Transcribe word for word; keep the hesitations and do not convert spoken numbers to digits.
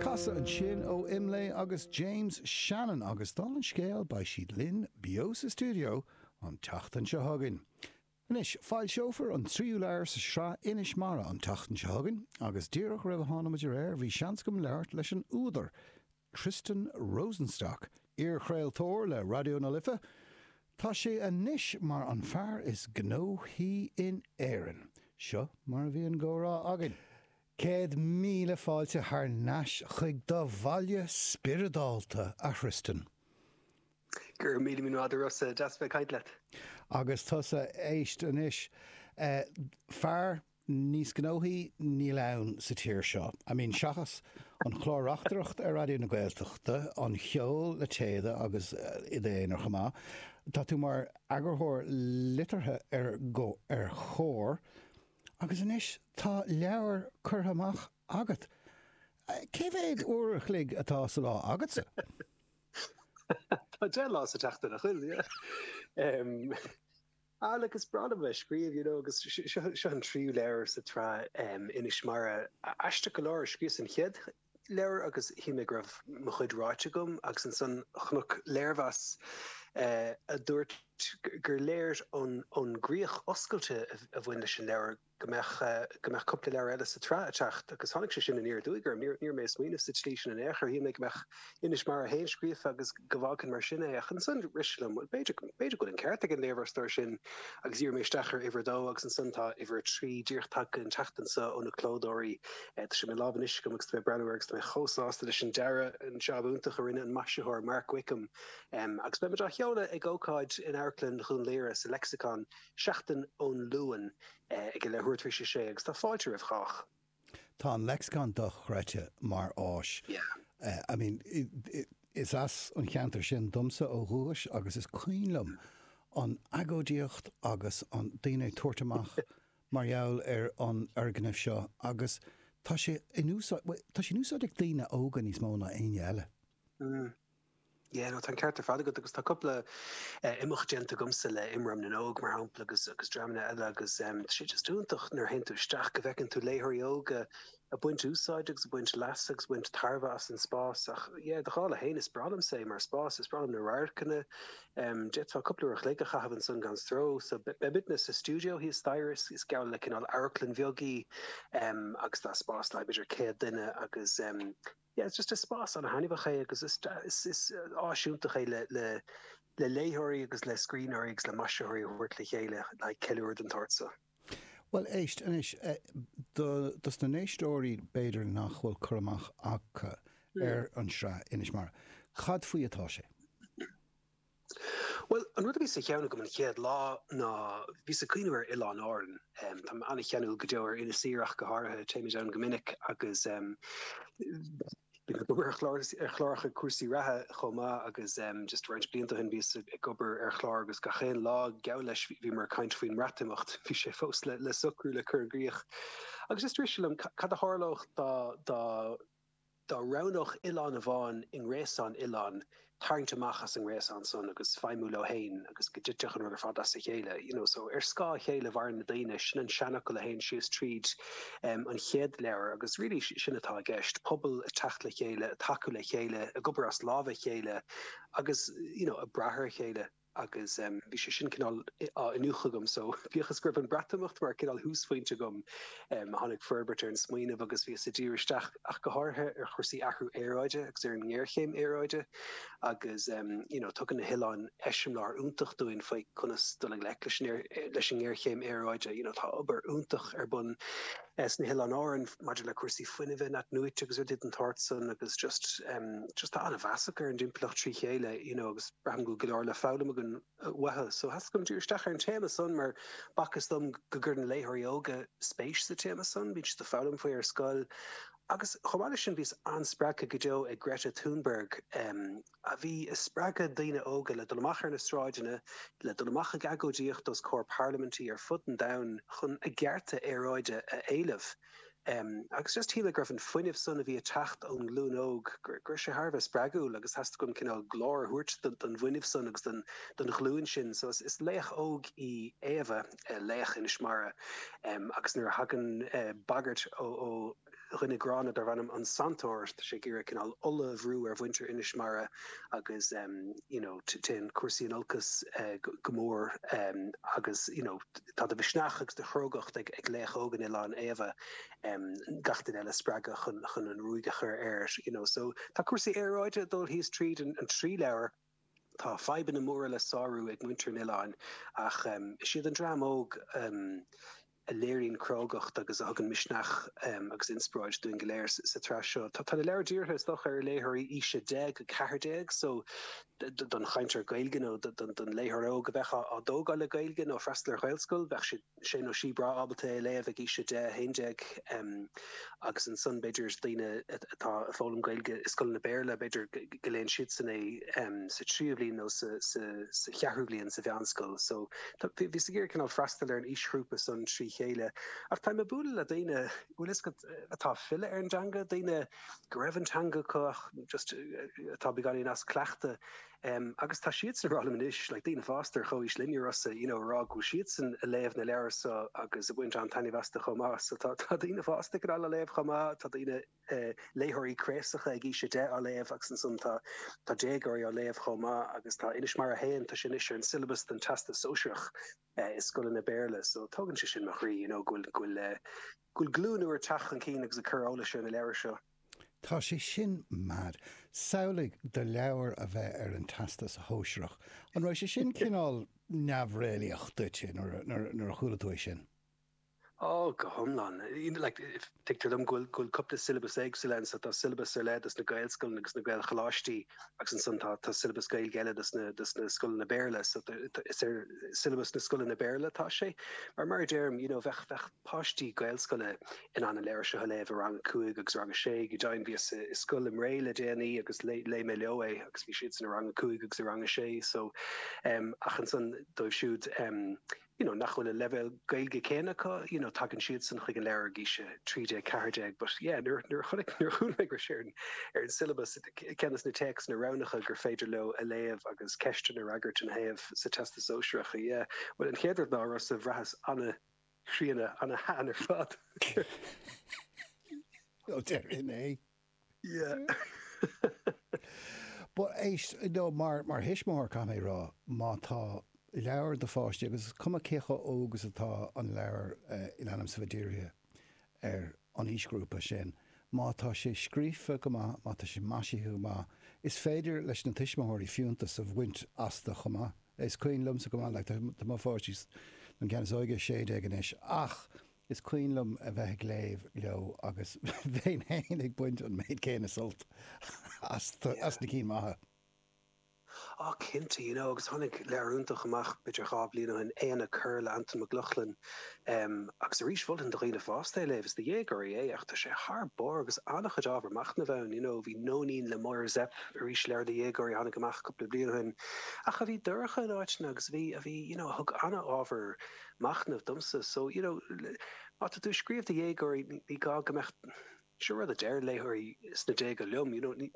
Casadh ansin ó Imlé agus James Shannon agus dála an scéil beidh siad linn beo sa stiúideo an tseachtain seo chugainn. Anois, foilseofar an tríú leabhar sa sraith Inis Mara an tseachtain seo chugainn agus díreach roimh a tháinig muid ar aer bhí seans agam labhairt leis an údar, Tristan Rosenstock, iarchraoltóir le Raidió na Life. Tá sé anois mar an fear is gnóthaí in Éirinn. Seo mar a bhí an comhrá againn. Céad míle fáilte thar n-ais chuig do bhaile spioradálta, a Thristan. Go raibh míle míle maith agat, a Rossa, deas bheith ag caint leat. Agus tusa, éist anois, fear níos gnóthaí níl ann sa tír seo. I mean, seachas an chlár reachtaireacht ar Raidió na Gaeltachta, an cheol le Téada agus i d'aonar chomh maith, tá tú mar eagarthóir liteartha ar ar Chomhar agus anois tá leabhar curtha amach agat. Cé mhéad uair a chloig atá sa lá agatsa? Tá deich lá sa tseachtain, nach bhfuil? Yeah. Ah, look, is breá liom bheith ag scríobh, you know, agus seo an tríú leabhar sa tsraith Inis Mara. Aisteach go leor, scríobhas an chéad leabhar agus shíl mé go raibh mo chuid ráite agam agus ansan chonac léirmheas a dúirt gur léir ón ón gcríoch oscailte a bhain leis an leabhar go mbeadh go mbeadh cúpla leabhar eile sa tsraith ag teacht agus tháinig sé sin aniar aduaidh orm. Ní raibh mé ag smaoineamh sa tslí sin in aon chor. Shíl mé go mbeadh Inis Mara a haon scríofa agus go bhfágfainn mar sin é. Ach ansan rith sé liom, bhuel, b'fhéidir b'fhéidir go bhfuil an ceart ag an léirmheastóir sin agus dhírigh mé isteach ar uimhir a dó agus ansan tá uimhir a trí díreach tagtha an tseachtain seo ó na clódóirí. Tá sé i mo lámh anois agam agus tá mé ag breathnú air agus tá mé chomh sásta leis an dearadh, an jab iontach a rinne an maisitheoir Mark Wickham. Agus beidh muid á sheoladh ag ócáid in Amharclann Dhún Laoghaire sa Lexicon seachtain ón Luan. ag a leathuair tar éis a sé agus tá fáilte roimh chách. Tá an Lexicon dochreidte mar áis. Yeah. I mean, is as an cheantar sin domsa ó dhúchas agus is cuimhin liom an agóidíocht agus an daoine ag tabhairt amach mar gheall ar an fhoirgneamh seo agus tá sé in úsáid, bhuel, tá sé in úsáid ag daoine óga níos mó ná éinne eile. Mm. Yeah, no, tá an ceart ar fad agat agus tá cúpla imeacht déanta agamsa le Imram na nÓg, mar shampla, agus agus dreamanna eile agus tá sé just iontach nuair a théann tú isteach go bhfeiceann tú léitheoirí óga ag baint úsáid agus ag baint leasa agus ag baint tairbhe as an spás ach yeah, do dhála féin is breá liomsa é mar spás, is breá liom na radharcanna, d'fhéadfá cúpla uair a chloig a chaitheamh ansan gan stró. So beidh muidne sa stiúideo thíos staighre, is geall le cineál amharclann bheag í agus tá spás le b'fhéidir céad duine agus Yeah, it's just is spás an-thaitneamhach é agus is is is áis iontach é le le le léitheoirí agus le scríbhneoirí agus le maisitheoirí a thabhairt le chéile le haghaidh ceiliúradh den tsórt seo. Bhuel, éist anois, do dos na n-éisteoirí b'fhéidir nach bhfuil cur amach acu ar an sraith Inis Mara, cad faoi atá sé? Bhuel, an rud a bhí sa cheann agam an chéad lá ná bhíos ag cuimhneamh ar Oileáin Árann. Táim an-cheanúil go deo ar Inis Oírr ach go háirithe, téimid ann go minic agus bím ag obair ar chlár ar chláracha cúrsaí reatha chomh maith agus just roinnt blianta ó shin bhíos ag obair ar chlár agus gach aon lá geall leis bhíomar ag caint faoin mBreatimeacht, bhí sé fós le le socrú le cur i gcrích. Agus just rith sé liom cad a tharlódh dá dá dá roghnódh oileán amháin i ngréasán oileán tarraingt amach as an ngréasán san agus feidhmiú leo féin agus go dtitfeadh an rud ar fad as a chéile, you know. So, ar scáth a chéile a mhaireann na daoine, sin an seanfhocal a théann síos tríd an chéad leabhar agus really sin atá i gceist, pobal ag teacht le chéile, ag tacú le chéile, ag obair as lámha a chéile agus, you know, ag brath ar a chéile. agus bhí sé sin cineál á iniúchadh agam so bíodh is go raibh an Breatimeacht mar cineál thúsphointe agam, tháinig forbairt ar an smaoineamh agus bhíos ag díriú isteach ach go háirithe ar chúrsaí athrú aeráide agus ar an ngéarchéim aeráide agus you know tugann na hoileáin eiseamláir iontach dúinn faoi conas dul i ngleic leis an leis an ngéarchéim aeráide. You know tá obair iontach ar bun sna hOileáin Árann maidir le cúrsaí fuinnimh in-athnuaite agus rudaí den tsórt san agus just just tá an-mheas acu ar an dtimpeallacht trí chéile you know agus braithim go bhfuil go leor le foghlaim againn uathu. So theastaigh uaim díriú isteach ar an téama san mar b'fhacthas dom go gcuireann léitheoirí óga spéis sa téama san, bíonn siad ag foghlaim faoi ar scoil. Agus chomh maith leis sin bhíos an-spreagtha go deo ag Greta Thunberg a bhí ag spreagadh daoine óga le dul amach ar na sráideanna, le dul amach ag agóidíocht os comhair parlaimintí ar fud an domhain chun a gcearta aeráide a éileamh. Agus just shíl mé go raibh an fuinneamh san a bhí ag teacht ón nglúin óg, go raibh sé thar a bheith spreagúil agus theastaigh uaim cineál glór a thabhairt don bhfuinneamh san agus don ghlúin sin. So is laoch óg í Éabha, laoch Inis Mara, agus nuair a thagann bagairt ó dhuine gránna darb ainm an Santóir tá sé ag iarraidh cineál ola a bhrú ar mhuintir Inis Mara agus um, you know, téann cúrsaí in olcas uh, go mór um, agus you know, tá de mhisneach agus de chrógacht ag, ag laoch óg an oileáin Éabha um, gach duine eile a spreagadh chun, chun an ruaig a chur air you know, so tá cúrsaí aeráide dul thíos tríd an, an trí leabhar Tá fadhbanna móra le sárú ag muintir an oileáin ach um, is iad an dream óg um, a léiríonn crógacht agus a thugann misneach um, agus inspioráid dúinn go léir sa tsraith seo. Tá tá na leabhair dírithe is dócha ar léitheoirí aois a deich go ceathair déag so don chainteoir Gaeilge nó don léitheoir óg a bheith á dtógáil le Gaeilge nó freastal ar Ghaelscoil, bheadh sé sé nó sí breá ábalta é a léamh ag aois a deich haon déag agus ansan b'fhéidir daoine atá ag foghlaim Gaeilge i scoileanna Béarla b'fhéidir go léann siadsan é sa tríú bliain nó sa cheathrú bliain sa mheánscoil. So bhíos ag iarraidh cineál freastal ar an aoisghrúpa san trí chéile. Ach táim ag bualadh le daoine bhfuil fhios agat atá ag filleadh ar an dteanga, daoine go raibh an teanga acu ach just atá beagáinín as cleachtadh. Um, agus tá siadsan ag rá liom anois, like daoine fásta ar chomhaois linne Rossa, you know, rá go bhfuil siadsan ag léamh na leabhar so agus ag baint an-taitneamh astu chomh maith. So tá tá daoine fásta cineál á léamh chomh maith, tá daoine uh, léitheoirí craosacha ag aois a deich á léamh agus ansan tá tá déagóirí á léamh chomh maith agus tá Inis Mara haon tá sé anois ar an syllabus don Teastas Sóisearach uh, i scoileanna Béarla, so tógann sé sin mo chroí, you know, go bhfuil go bhfuil uh, go bhfuil glúin úr ag teacht chun cinn agus ag cur eolais ar na leabhair seo. Tá sé sin mad. Samhlaigh do leabhar a bheith ar an Teastas Shóisearach. An raibh sé sin cineál neamhréalaíoch duit nuair a chuala tú é sin? Ó go hiomlán. Like, tuigtear dom go bhfuil go bhfuil cúpla syllabus éagsúil ann, so tá syllabus ar leith dos na Gaelscoileanna agus na Gaelcholáistí agus ansan tá tá syllabus Gaeilge eile dos na dos na scoileanna Béarla, so is ar syllabus na scoileanna Béarla atá sé. Mar mar a deirim, you know, bheadh bheadh páistí Gaelscoile in ann an leabhar seo a léamh i rang a cúig agus rang a sé, go deimhin bhíos i scoil i mBré le déanaí agus léigh mé leo é agus bhí siadsan i rang a cúig agus i rang a sé so um, ach ansan dóibh siúd um, you know, nach bhfuil an leibhéal Gaeilge céanna acu, you know, tagann siadsan chuig an leabhar ag aois a trí déag ceathair déag, but yeah, nuair nuair chonaic nuair a chuala mé go raibh sé ar an ar an syllabus ceann de na téacsanna roghnacha gur féidir leo a léamh agus ceisteanna a fhreagairt ina thaobh sa Teastas Sóisearach, yeah. Well an chéad rud ná Rossa bhraitheas an-chríonna an-shean ar fad. Ó déarfainn é. Yeah. But éist, no, mar mar thuismitheoir caithfidh mé a rá, má tá leabhar do pháistí agus is cuma cé chomh óg is atá an leabhar in ainm is a bheith dírithe ar an aoisghrúpa sin, má tá sé scríofa go maith, má tá sé maisithe go maith, is féidir leis na tuismitheoirí fiúntas a bhaint astu chomh maith. Is cuimhin liomsa go maith, like, tá mo pháistí, an ceann is óige sé déag anois, ach is cuimhin liom a bheith ag léamh leo agus bheinn féin ag baint an méid céanna sult as as na cinn maithe. Á cinnte, you know, agus tháinig leabhar iontach amach b'fhéidir dhá bhliain ó shin, Éanna Corr le Antain Mac Lochlainn, um, agus arís mholfainn do dhaoine fásta é a léamh, is do dhéagóirí é ach tá sé thar barr agus an-chuid ábhar machnaimh ann, you know, bhí Nóinín le Máire Zepf, arís leabhar do dhéagóirí a tháinig amach cúpla bliain ó shin, ach a bhí dorcha in áiteanna agus a bhí, a bhí, you know, a thug an-ábhar machnaimh domsa, so, you know, má tá tú ag scríobh do dhéagóirí ní gá go mbeadh, seo rud a deir léitheoirí sna déaga liom, you know, ní,